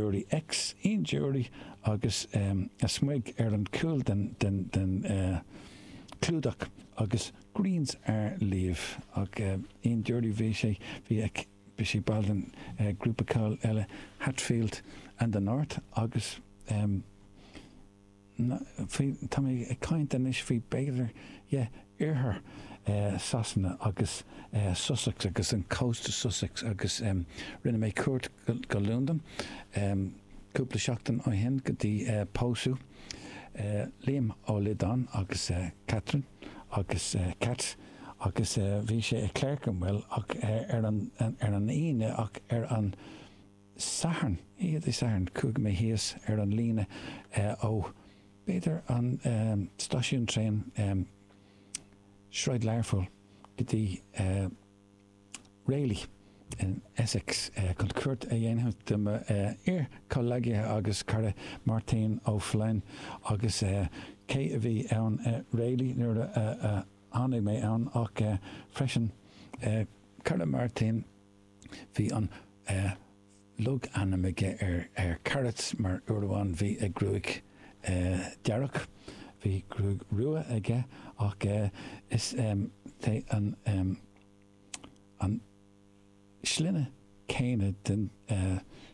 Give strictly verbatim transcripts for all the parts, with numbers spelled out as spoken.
Dury X Ian Dury agus a smig ar an cúl den den den clúdach agus Greens Are Leave ach Ian Dury bhí sé bhí bhí sé ball den grúpa ceoil eile Hatfield and the North agus faoi tá mé ag caint anois faoi b'fhéidir yeah oirthear Sasana agus Sussex agus an cósta Sussex agus rinne mé cuairt go Londain cúpla seachtain ó shin go dtí pósadh Liam Ó Loideáin agus Catherine agus Cat agus bhí sé i Clerkenwell ach ar an ar an Aoine ach ar an Satharn, oíche Dé Sathairn, chuaigh mé thíos ar an líne ó b'fhéidir an stáisiún traein Sráid Learpholl go dtí Rayleigh in Essex chun cuairt a dhéanamh de mo iar-chomhghleacaithe agus cara Máirtín Ó Floinn agus cé a bhí ann i Rayleigh nuair a tháinig mé ann ach freisin cara Máirtín bhí an logainm aige ar ar Carrots mar uair amháin bhí a ghruaig dearg, bhí gruaig rua aige ach is é an an sloinne céanna den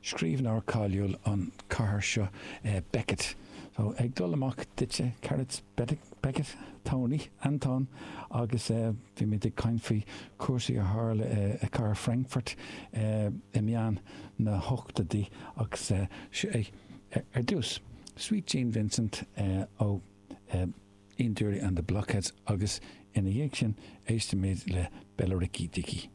scríbhneoir cáiliúil an chathair seo Beckett. So ag dul amach duitse Carrots Beckett, Tony, Anton agus bhí muid ag caint faoi chúrsaí a tharla i cathair Frankfurt i meán na hochtóidí agus seo é ar dtús Sweet Gene Vincent ó Ian Dury and the Blockheads agus ina dhiaidh sin éistfimid le Billericay Dickie.